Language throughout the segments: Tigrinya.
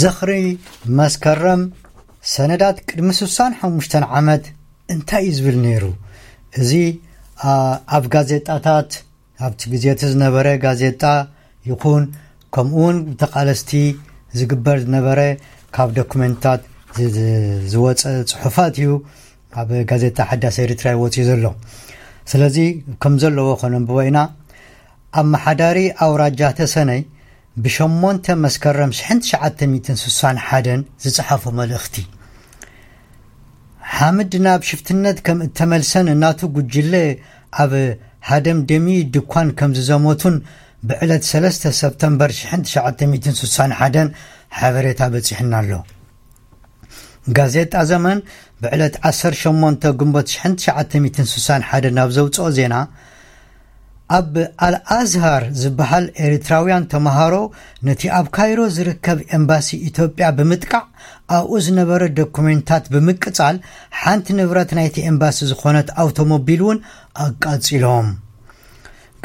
ዝኽሪ መስከረም ሰነዳት ቅድሚ ስሳን ሓሙሽተን ዓመት እንታይ እዩ ዝብል ነይሩ? እዚ ኣብ ጋዜጣታት ኣብቲ ግዜ እቲ ዝነበረ ጋዜጣ ይኹን ከምኡ እውን ብተቓለስቲ ዝግበር ዝነበረ ካብ ዶኩመንትታት ዝወፀ ፅሑፋት እዩ ኣብ ጋዜጣ ሓዳስ ኤርትራ ይወፅኡ ዘሎ። ስለዚ ከም ዘለዎ ከነንብቦ ኢና። ኣመሓዳሪ ኣውራጃ ተሰነይ ብሸሞንተ መስከረም ሽሕን ትሽዓተ ሚእትን ስሳን ሓደን ዝጸሓፎ መልእኽቲ፣ ሓምድ ናብ ሽፍትነት ከም እተመልሰን እናቱ ጉጅለ ኣብ ሃደም ደሚ ድኳን ከም ዝዘመቱን ብዕለት ሰለስተ ሰፕተምበር ሽሕን ትሽዓተ ሚእትን ስሳን ሓደን ሓበሬታ በጺሕና ኣሎ። ጋዜጣ ዘመን ብዕለት ዓሰርተ ሸሞንተ ግንቦት ሽሕን ትሽዓተ ሚእትን ስሳን ሓደን ናብ ዘውፅኦ ዜና፣ ኣብ ኣልኣዝሃር ዝበሃል ኤሪትራውያን ተምሃሮ ነቲ ኣብ ካይሮ ዝርከብ ኤምባሲ ኢትዮጵያ ብምጥቃዕ ኣብኡ ዝነበረ ዶኩሜንታት ብምቅጻል ሓንቲ ንብረት ናይቲ ኤምባሲ ዝኾነት ኣውቶሞቢል እውን ኣቃጺሎም።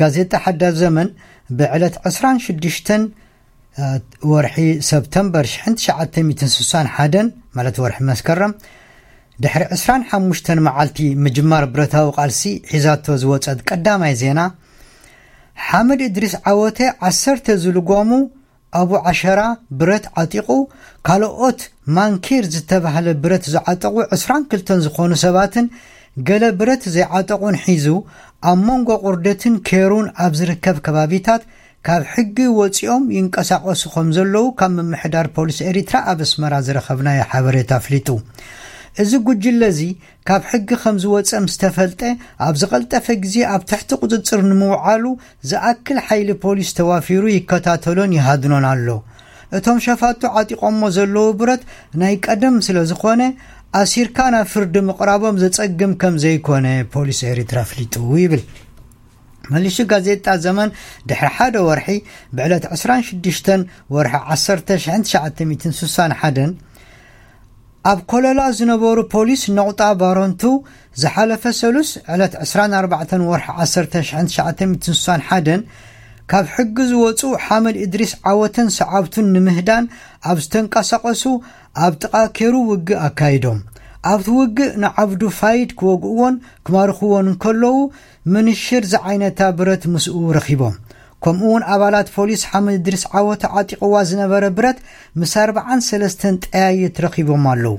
ጋዜጣ ሓዳስ ዘመን ብዕለት ዕስራን ሽዱሽተን ወርሒ ሰፕተምበር ሽሕን ትሽዓተ ሚእትን ስሳን ሓደን ማለት ወርሒ መስከረም ድሕሪ ዕስራን ሓሙሽተን መዓልቲ ምጅማር ብረታዊ ቃልሲ ሒዛቶ ዝወጸት ቀዳማይ ዜና፣ ሓመድ እድሪስ ዓወተ ዓሰርተ ዝልጓሙ ኣቡ ዓሸራ ብረት ዓጢቑ፣ ካልኦት ማንኪር ዝተባህለ ብረት ዝዓጠቑ ዕስራን ክልተን ዝኾኑ ሰባትን ገለ ብረት ዘይዓጠቑን ሒዙ ኣብ መንጎ ቁርደትን ኬሩን ኣብ ዝርከብ ከባቢታት ካብ ሕጊ ወጺኦም ይንቀሳቐሱ ከም ዘለዉ ካብ ምምሕዳር ፖሊስ ኤሪትራ ኣብ ኣስመራ ዝረኸብናዮ ሓበሬታ ኣፍሊጡ። እዚ ጉጅለ እዚ ካብ ሕጊ ከም ዝወጸ ምስ ተፈልጠ ኣብ ዝቐልጠፈ ግዜ ኣብ ትሕቲ ቁጽጽር ንምውዓሉ ዝኣክል ሓይሊ ፖሊስ ተዋፊሩ ይከታተሎን ይሃድኖን ኣሎ። እቶም ሸፋቱ ዓጢቖሞ ዘለዉ ብረት ናይ ቀደም ስለ ዝኾነ ኣሲርካ ናብ ፍርዲ ምቕራቦም ዘጸግም ከም ዘይኮነ ፖሊስ ኤሪትራ ኣፍሊጡ ይብል። መሊሹ ጋዜጣ ዘመን ድሕሪ ሓደ ወርሒ ብዕለት ዕስራን ሽዱሽተን ወርሒ ዓሰርተ ሽሕን ትሽዓተ ሚእትን ስሳን ሓደን ኣብ ኮለላ ዝነበሩ ፖሊስ ነቑጣ ባረንቱ ዝሓለፈ ሰሉስ ዕለት ዕስራን ኣርባዕተን ወርሒ ዓሰርተ ሽሕን ትሽዓተ ሚእትን ስሳን ሓደን ካብ ሕጊ ዝወፁ ሓመድ እድሪስ ዓወተን ሰዓብቱን ንምህዳን ኣብ ዝተንቀሳቐሱ ኣብ ጥቓ ኬሩ ውግእ ኣካይዶም። ኣብቲ ውግእ ንዓብዱ ፋይድ ክወግእዎን ክማርኽዎን እንከለዉ ምንሽር ዝዓይነታ ብረት ምስኡ ረኺቦም። ከምኡ እውን ኣባላት ፖሊስ ሓመድ እድሪስ ዓወተ ዓጢቕዋ ዝነበረ ብረት ምስ ኣርባዓን ሰለስተን ጠያይት ረኺቦም ኣለዉ።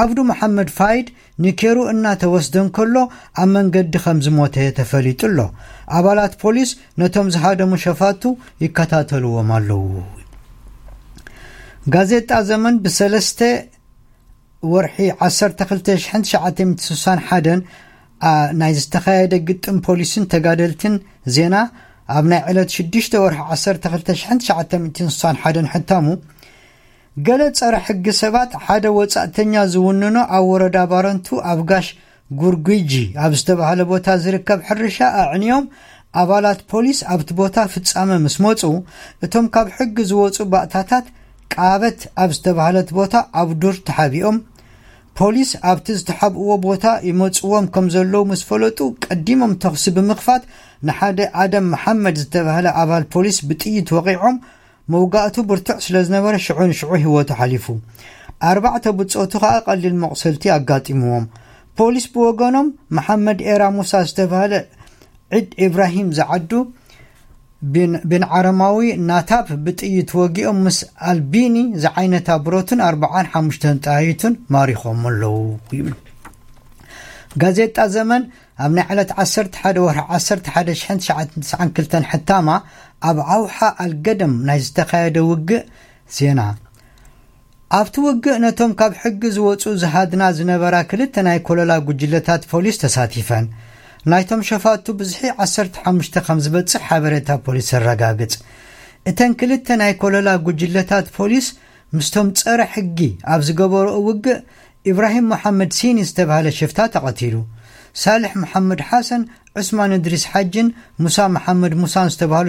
ዓብዱ መሓመድ ፋይድ ንኬሩ እናተወስደ እንከሎ ኣብ መንገዲ ከም ዝሞተ ተፈሊጡ ኣሎ። ኣባላት ፖሊስ ነቶም ዝሃደሙ ሸፋቱ ይከታተልዎም ኣለዉ። ጋዜጣ ዘመን ብሰለስተ ወርሒ ዓሰርተ ክልተ ሽሕን ትሽዓተ ሚእትን ስሳን ሓደን ናይ ዝተኻየደ ግጥም ፖሊስን ተጋደልትን ዜና ኣብ ናይ ዕለት ሽዱሽተ ወርሒ ዓሰርተ ክልተ ሽሕን ትሽዓተ ሚእትን ስሳን ሓደን ሕታሙ፣ ገለ ጸረ ሕጊ ሰባት ሓደ ወጻእተኛ ዝውንኖ ኣብ ወረዳ ባረንቱ ኣብ ጋሽ ጉርጉጂ ኣብ ዝተባህለ ቦታ ዝርከብ ሕርሻ ኣዕንዮም ኣባላት ፖሊስ ኣብቲ ቦታ ፍጻመ ምስ መጹ፣ እቶም ካብ ሕጊ ዝወጹ ባእታታት ቃበት ኣብ ዝተባህለት ቦታ ኣብ ዱር ተሓቢኦም፣ ፖሊስ ኣብቲ ዝተሓብእዎ ቦታ ይመጽዎም ከም ዘለዉ ምስ ፈለጡ ቀዲሞም ተኹሲ ብምኽፋት ንሓደ ኣደም መሓመድ ዝተባህለ ኣባል ፖሊስ ብጥይት ወቒዖም መውጋእቱ ብርቱዕ ስለ ዝነበረ ሽዑ ንሽዑ ህይወቱ ሓሊፉ። ኣርባዕተ ብጾቱ ከኣ ቀሊል መቑሰልቲ ኣጋጢምዎም። ፖሊስ ብወገኖም መሓመድ ኤራ ሙሳ ዝተባህለ ዒድ ኢብራሂም ዝዓዱ ቢን ዓረማዊ ናታብ ብጥይት ወጊኦም ምስ ኣልቢኒ ዝዓይነታ ብረቱን ኣርባዓን ሓሙሽተን ጠያይቱን ማሪኾም ኣለዉ ይብል። ጋዜጣ ዘመን ኣብ ናይ ዕለት ዓሰርተ ሓደ ወርሒ ዓሰርተ ሓደ ሽሕን ትሽዓን ትስዓን ክልተን ሕታማ ኣብ ዓውሓ ኣልገደም ናይ ዝተኻየደ ውግእ ዜና። ኣብቲ ውግእ ነቶም ካብ ሕጊ ዝወጹ ዝሃድና ዝነበራ ክልተ ናይ ኮለላ ጉጅለታት ፖሊስ ተሳቲፈን። ናይቶም ሸፋቱ ብዝሒ ዓሰርተ ሓሙሽተ ከም ዝበጽሕ ሓበሬታ ፖሊስ የረጋግጽ። እተን ክልተ ናይ ኮለላ ጉጅለታት ፖሊስ ምስቶም ጸረ ሕጊ ኣብ ዝገበርኦ ውግእ ኢብራሂም መሓመድ ሲኒ ዝተባህለ ሽፍታ ተቐቲሉ። ሳልሕ መሓመድ ሓሰን፣ ዑስማን እድሪስ ሓጅን ሙሳ መሓመድ ሙሳን ዝተባህሉ